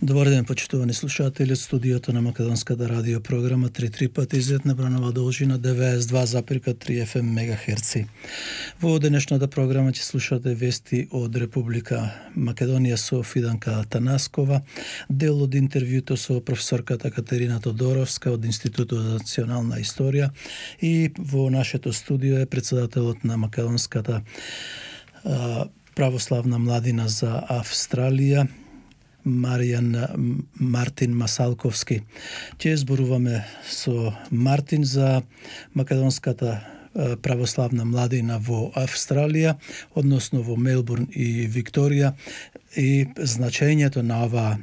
Добар ден, почитувани слушатели од студиото на Македонската радио програма 3 пати изет на бранова должина 92,3 FM мегахерци. Во денешната програма ќе слушате вести од Република Македонија со Фиданка Танаскова, дел од интервјуто со професорката Катерина Тодоровска од Институтот за национална историја, и во нашето студио е председателот на Македонската православна младина за Австралија, Мартин Масалковски. Ќе зборуваме со Мартин за Македонската православна младина во Австралија, односно во Мелбурн и Викторија, и значењето на оваа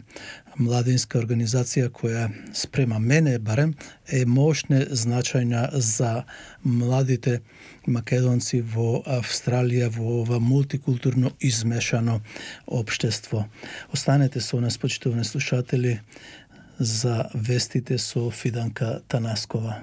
младинска организација која спрема мене барем е мощна, значајна за младите македонци во Австралија во ова мултикултурно измешано општество. Останете со нас, почитувани слушатели, за вестите со Фиданка Танаскова.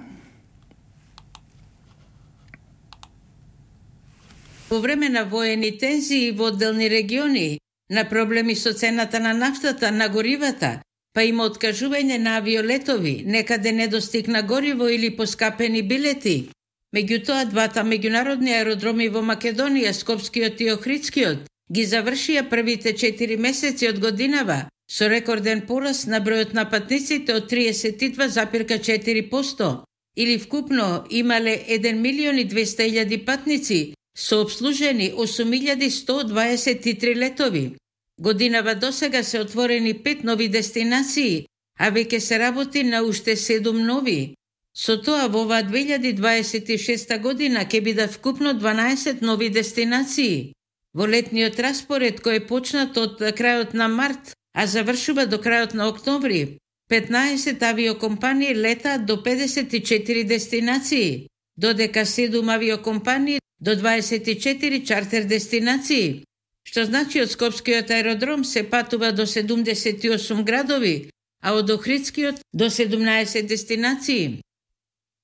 Во време на воени тензии во одделни региони, на проблеми со цената на нафтата, на горивата, па има откажување на авиолетови, некаде недостигна гориво или поскапени билети. Меѓутоа, двата меѓународни аеродроми во Македонија, Скопскиот и Охридскиот, ги завршија првите 4 месеци од годинава со рекорден пораст на бројот на патниците од 32,4%, или вкупно имале 1.200.000 патници, со обслужени 8.123 летови. Годинава досега се отворени 5 нови дестинации, а веќе се работи на уште 7 нови. Со тоа во оваа 2026 година ќе бидат вкупно 12 нови дестинации. Во летниот распоред, кој е почнат од крајот на март, а завршува до крајот на октомври, 15 авиокомпании летаат до 54 дестинации, додека 7 авиокомпании до 24 чартер дестинации, што значи од Скопскиот аеродром се патува до 78 градови, а од Охридскиот до 17 дестинации.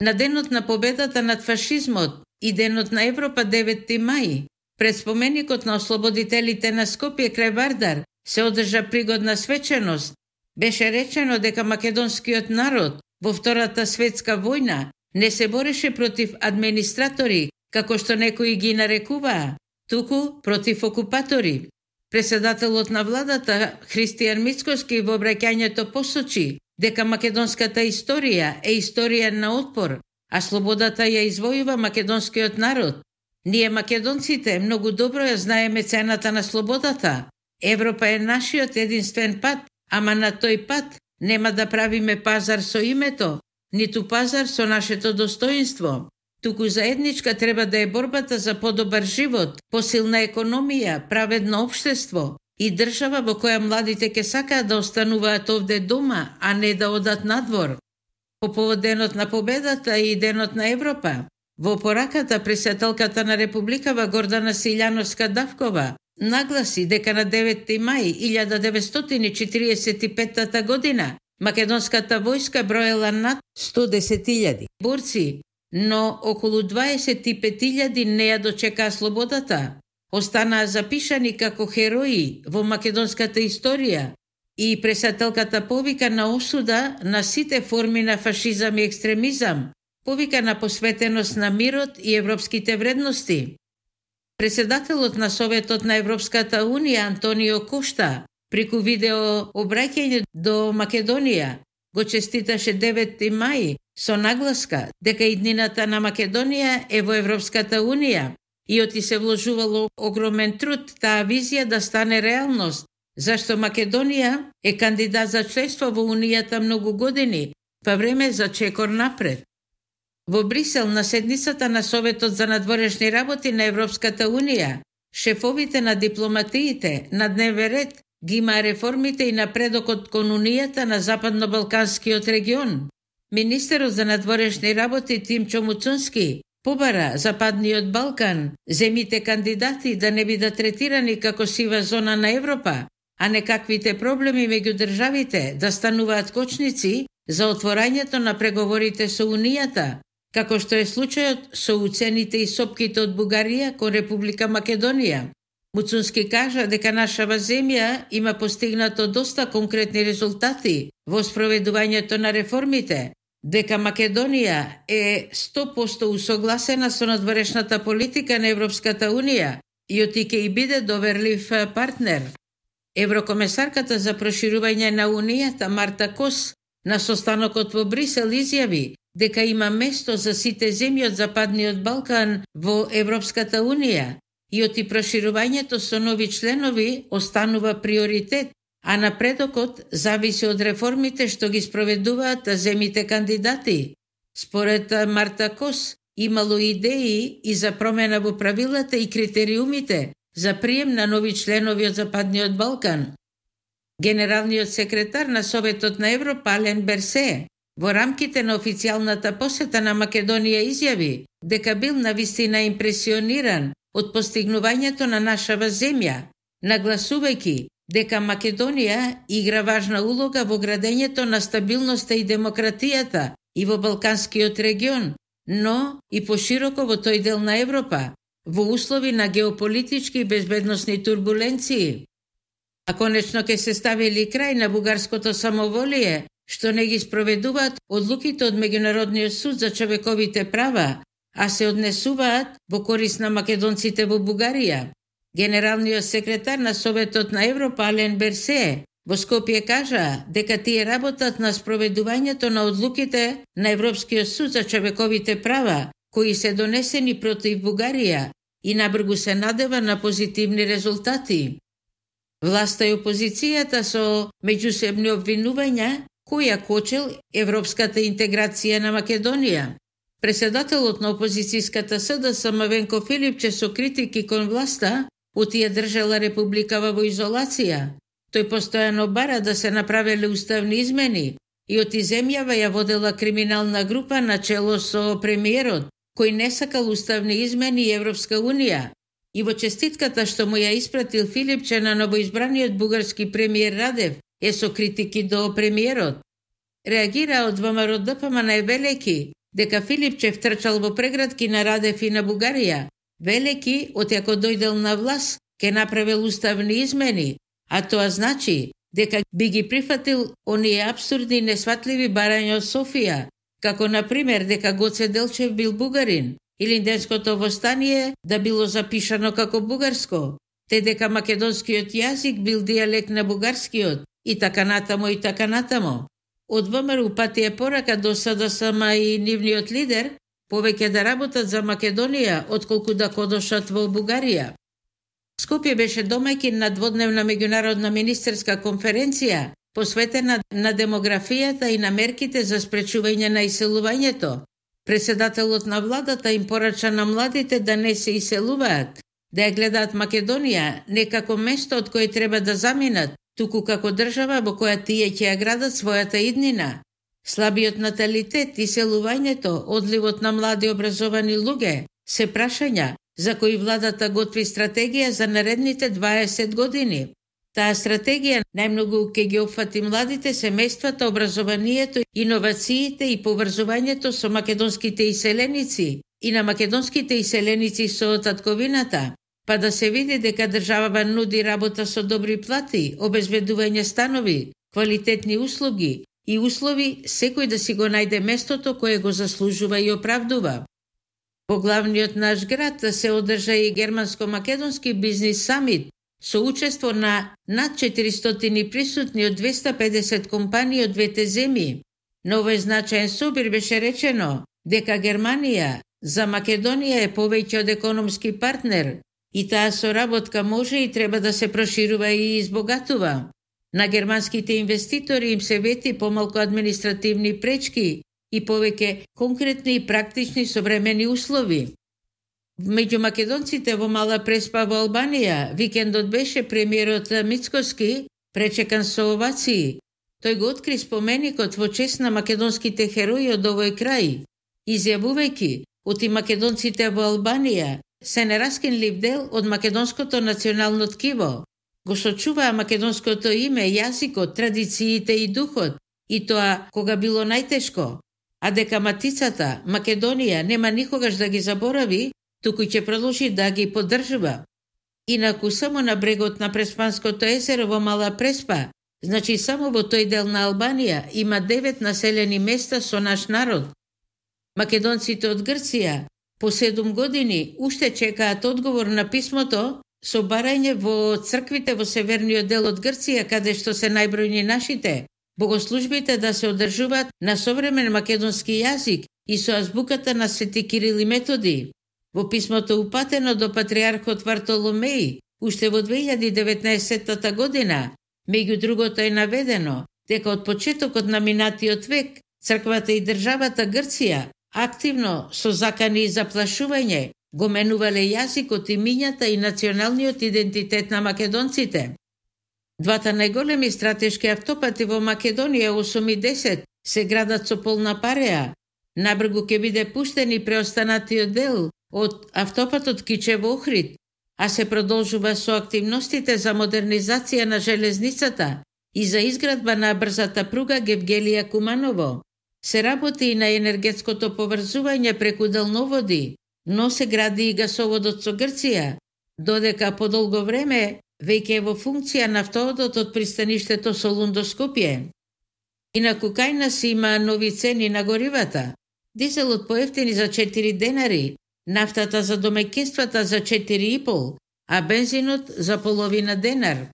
На денот на победата над фашизмот и денот на Европа 9 мај, пред споменикот на ослободителите на Скопје крај Вардар, се одржа пригодна свеченост. Беше речено дека македонскиот народ во Втората светска војна не се бореше против администратори, како што некои ги нарекуваа, туку против окупатори. Председателот на владата Христијан Мицкоски во обраќањето посочи дека македонската историја е историја на отпор, а слободата ја извојува македонскиот народ. Ние македонците многу добро ја знаеме цената на слободата. Европа е нашиот единствен пат, ама на тој пат нема да правиме пазар со името, ниту пазар со нашето достоинство. Туку заедничка треба да е борбата за подобар живот, посилна економија, праведно општество и држава во која младите ќе сакаат да остануваат овде дома, а не да одат надвор. По повод денот на победата и денот на Европа, во пораката председателката на Републикава Гордана Силјановска-Давкова нагласи дека на 9 мај 1945 година македонската војска броела над 110.000 борци, но околу 25.000 не ја дочекаа слободата. Останаа запишани како херои во македонската историја и председателката повика на осуда на сите форми на фашизам и екстремизам, повика на посветеност на мирот и европските вредности. Председателот на Советот на Европската Унија Антонио Кошта преку видео обраќање до Македонија го честиташе 9 мај со нагласка дека иднината на Македонија е во Европската Унија и оти се вложувало огромен труд таа визија да стане реалност, зашто Македонија е кандидат за членство во Унијата многу години, па време за чекор напред. Во Брисел на седницата на Советот за надворешни работи на Европската Унија, шефовите на дипломатиите на дневен ред ги има реформите и напредокот кон Унијата на Западно-Балканскиот регион. Министерот за надворешни работи Тимчо Муцунски побара Западниот Балкан, земите кандидати да не бидат третирани како сива зона на Европа, а некаквите проблеми меѓу државите да стануваат кочници за отворањето на преговорите со Унијата, како што е случајот со уцените и сопките од Бугарија кон Република Македонија. Муцунски кажа дека нашава земја има постигнато доста конкретни резултати во спроведувањето на реформите, дека Македонија е 100% усогласена со надворешната политика на Европската Унија и ќе и биде доверлив партнер. Еврокомесарката за проширување на Унијата Марта Кос на состанокот во Брисел изјави дека има место за сите земји од Западниот Балкан во Европската Унија и проширувањето со нови членови останува приоритет, а напредокот зависи од реформите што ги спроведуваат земите кандидати. Според Марта Кос, имало идеи и за промена во правилата и критериумите за прием на нови членови од Западниот Балкан. Генералниот секретар на Советот на Европа Ален Берсе во рамките на официјалната посета на Македонија изјави дека бил навистина импресиониран од постигнувањето на нашава земја, нагласувајќи дека Македонија игра важна улога во градењето на стабилноста и демократијата и во Балканскиот регион, но и пошироко во тој дел на Европа, во услови на геополитички и безбедносни турбуленции. А конечно ќе се ставили крај на бугарското самоволие, што не ги спроведуваат одлуките од Меѓународниот суд за човековите права, а се однесуваат во корист на македонците во Бугарија. Генералниот секретар на Советот на Европа Ален Берсе во Скопје кажа дека тие работат на спроведувањето на одлуките на Европскиот суд за човековите права, кои се донесени против Бугарија и набргу се надева на позитивни резултати. Власта и опозицијата со меѓусебни обвинувања која кочел европската интеграција на Македонија. Преседателот на опозицијската СДС Мавенко Филипче со критики кон власта ја држала републикава во изолација. Тој постојано бара да се направеле уставни измени и земјава ја водела криминална група на чело со премиерот, кој не сакал уставни измени и Европска Унија. И во честитката што му ја испратил Филипче на новоизбраниот бугарски премиер Радев е со критики до премиерот. Реагира од ВМРО ДПМН Велеки дека Филипче втрчал во преградки на Радев и на Бугарија. Велеки, отјако дојдел на власт, ке направил уставни измени, а тоа значи дека би ги прифатил оние абсурдни и несватливи барања од Софија, како например дека Гоце Делчев бил бугарин, или Инденското востание да било запишано како бугарско, те дека македонскиот јазик бил дијалект на бугарскиот, и така натамо. Од ВМРО патија порака до СДСМ и нивниот лидер повеќе да работат за Македонија, отколку да кодошат во Бугарија. Скопје беше домаќин на дводневна меѓународна министерска конференција, посветена на демографијата и на мерките за спречување на иселувањето. Преседателот на владата им порача на младите да не се иселуваат, да ја гледаат Македонија не како место од кое треба да заминат, туку како држава во која тие ќе ја градат својата иднина. Слабиот наталитет, иселувањето, одливот на млади образовани луѓе се прашања за кои владата готви стратегија за наредните 20 години. Таа стратегија најмногу ќе ги опфати младите, семејствата, образованието, иновациите и поврзувањето со македонските иселеници и на македонските иселеници со татковината, па да се види дека државава нуди работа со добри плати, обезбедување станови, квалитетни услуги и услови секој да си го најде местото кое го заслужува и оправдува. Во главниот наш град се одржа и германско-македонски бизнис самит со учество на над 400 присутни од 250 компании од двете земји. На овој значаен собир беше речено дека Германија за Македонија е повеќе од економски партнер и таа соработка може и треба да се проширува и избогатува. На германските инвеститори им се вети помалку административни пречки и повеќе конкретни и практични современи услови. Меѓу македонците во Мала Преспа во Албанија, викендот беше премиерот Мицкоски пречекан со овации. Тој го откри споменикот во чест на македонските херои од овој крај, изјавувајќи оти македонците во Албанија се нераскинлив дел од македонското национално ткиво. Го сочуваа македонското име, јазикот, традициите и духот, и тоа кога било најтешко, а дека матицата, Македонија, нема никогаш да ги заборави, туку ќе продолжи да ги поддржува. Инаку само на брегот на Преспанското езеро во Мала Преспа, значи само во тој дел на Албанија, има 9 населени места со наш народ. Македонците од Грција по 7 години уште чекаат одговор на писмото со барање во црквите во северниот дел од Грција, каде што се најбројни нашите, богослужбите да се одржуваат на современ македонски јазик и со азбуката на Свети Кирил и Методи. Во писмото упатено до патриархот Вартоломеј, уште во 2019 година, меѓу другото е наведено дека од почетокот на минатиот век црквата и државата Грција активно со закани и заплашување го менувале јазикот, имињата и националниот идентитет на македонците. Двата најголеми стратешки автопати во Македонија 8 и 10 се градат со полна пареа. Набргу ќе биде пуштен и преостанатиот дел од автопатот Кичево-Охрид, а се продолжува со активностите за модернизација на железницата и за изградба на брзата пруга Гевгелија Куманово. Се работи и на енергетското поврзување преку далноводи, но се гради и гасоводот со Грција, додека по долго време веќе е во функција нафтоводот од пристаништето Солун до Скопје. Инаку кај нас има нови цени на горивата. Дизелот поевтини за 4 денари, нафтата за домаќинствата за 4,5, а бензинот за половина денар.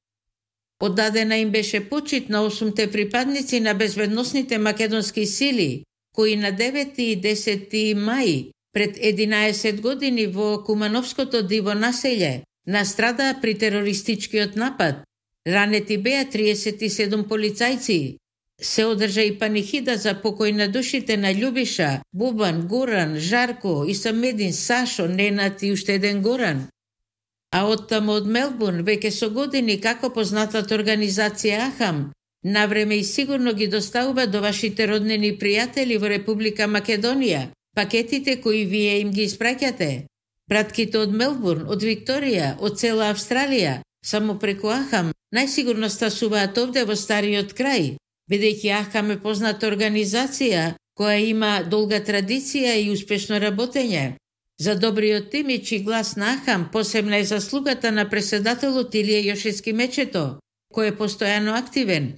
Оддадена им беше почит на 8 припадници на безбедносните македонски сили, кои на 9 и 10 мај пред 11 години во Кумановското диво населје настрадаа при терористичкиот напад. Ранети беа 37 полицајци. Се одржа и панихида за покој на душите на Љубиша, Бубан, Гуран, Жарко, Исамедин, Сашо, Ненат и уште еден Горан. А оттаму од Мелбурн, веќе со години како познатата организација Ахам, навреме и сигурно ги доставува до вашите роднини пријатели во Република Македонија пакетите кои вие им ги испраќате. Пратките од Мелбурн, од Викторија, од цела Австралија, само преку Ахам, најсигурно стасуваат овде во стариот крај, бидејќи Ахам е позната организација која има долга традиција и успешно работење. За добриот имидж и глас на Ахам посебна е заслугата на преседателот Илија Јошевски Мечето, кој е постојано активен.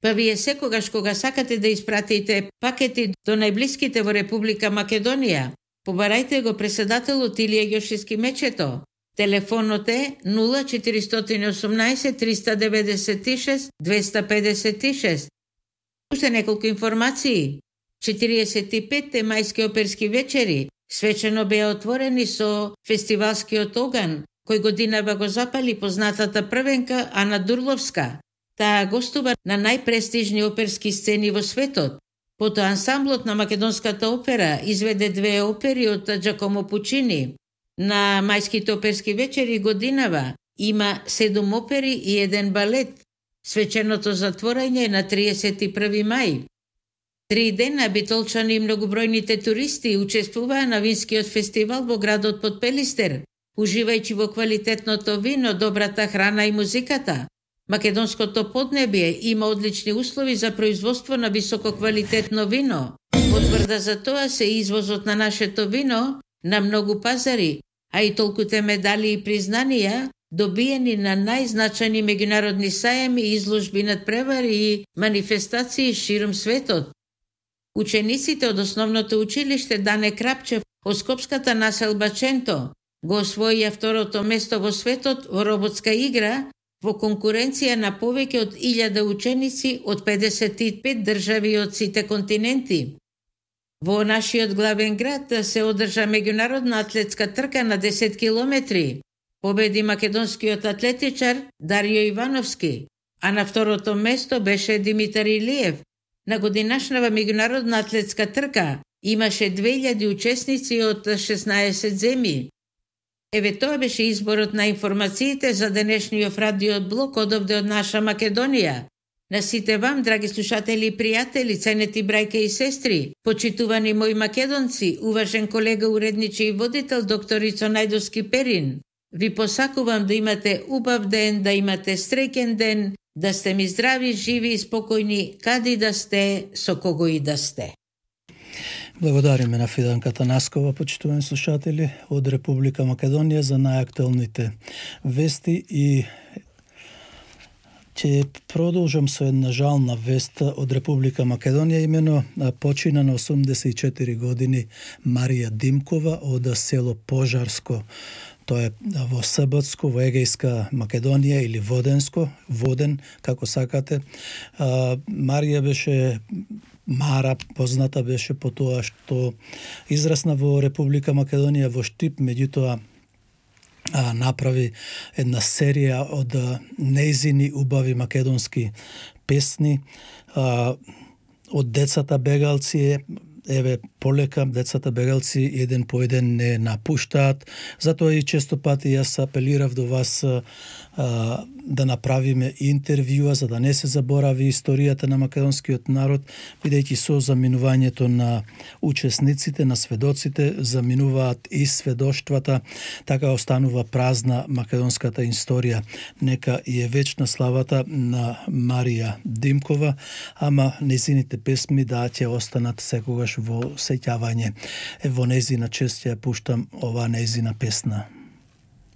Па вие секогаш кога сакате да испратите пакети до најблиските во Република Македонија, побарајте го преседателот Илија Јошевски Мечето. Телефонот е 0418 396 256. Уште неколку информации. 45-те мајски оперски вечери свечено беа отворени со фестивалскиот оган, кој годинава го запали познатата првенка Ана Дурловска. Таа гостува на најпрестижни оперски сцени во светот. Потоа ансамблот на Македонската опера изведе 2 опери од Джакомо Пучини. На мајските оперски вечери годинава има 7 опери и 1 балет. Свеченото затворање е на 31 мај. 3 дена битолчани и многобројните туристи учествуваа на винскиот фестивал во градот Подпелистер, уживајќи во квалитетното вино, добрата храна и музиката. Македонското поднебје има одлични услови за производство на висококвалитетно вино. Потврда за тоа се извозот на нашето вино на многу пазари, а и толкуте медали и признанија добиени на најзначајни меѓународни сајами, изложби, надпревари и манифестации широм светот. Учениците од основното училиште Дане Крапчев од скопската населба Ченто го освоија второто место во светот во роботска игра во конкуренција на повеќе од 1000 ученици од 55 држави од сите континенти. Во нашиот главен град се одржа меѓународна атлетска трка на 10 километри. Победи македонскиот атлетичар Дарио Ивановски, а на второто место беше Димитар Илиев. На годинашнава меѓународна атлетска трка имаше 2000 учесници од 16 земји. Еве тоа беше изборот на информациите за денешниот радиот блок одовде од наша Македонија. На сите вам, драги слушатели и пријатели, ценети брајке и сестри, почитувани мои македонци, уважен колега уредниче и водител докторица Најдовски Перин, ви посакувам да имате убав ден, да имате среќен ден, да сте ми здрави, живи и спокојни, каде да сте, со кого и да сте. Благодариме на Фиданка Танаскова, почитувани слушатели од Република Македонија за најактуелните вести и ќе продолжам со една жална вест од Република Македонија, имено почина на 84 години Марија Димкова од село Пожарско. Тоа е во Србско, во Егејска Македонија или Воден, како сакате. Марија беше Мара, позната беше по тоа што израсна во Република Македонија во Штип, меѓутоа направи една серија од нејзини убави македонски песни. Од децата бегалци, еве полека децата бегалци еден по еден не напуштаат, затоа и често пати јас апелирав до вас да направиме интервјуа за да не се заборави историјата на македонскиот народ, бидејќи со заминувањето на учесниците, на сведоците, заминуваат и сведоштвата, така останува празна македонската историја. Нека и е вечна славата на Марија Димкова, ама незините песми да ќе останат секогаш во сеќавање. Во незина чест ја пуштам оваа незина песна.